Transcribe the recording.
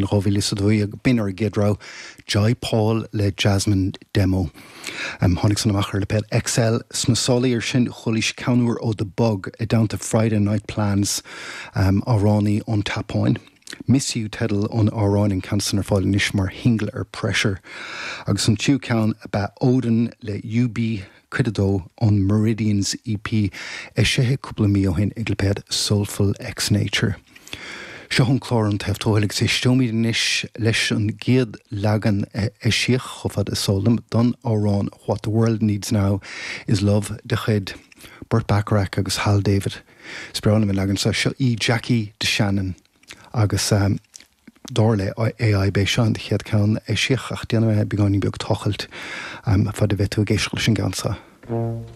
2012, b'in ár gcéad rogha, Jai Paul le Jasmine Demo. Tháinig san amach ar lipéad XL. Sna sála iar sin, chualaís ceann úr ó The Bug i dteannta Friday Night Plans, amhránaí ón tSeapáin. Miss You teideal an amhráin, an ceann san ar fáil anois mar shingil ar Pressure. Agus an tríú ceann ab ea Odin le UB. Cuid 2, ón Meridians EP, eisithe cúpla mí ó shin ag lipéad Soulful X Nature. Seo an clár An Taobh Tuathail agus éisteoimid anois leis an gcéad leagan a eisíodh, chomh fada is eol dom, don amhrán What the World Needs Now Is Love de chuid Burt Bacharach agus Hal David. Is breá liom an leagan seo. Seo í Jackie DeShannon agus. Dar le AI, b'é seo an chéad ceann a eisíodh ach déanfaidh mé beagáinín beag tochailt fad a bheidh tú ag éisteacht leis an gceann seo.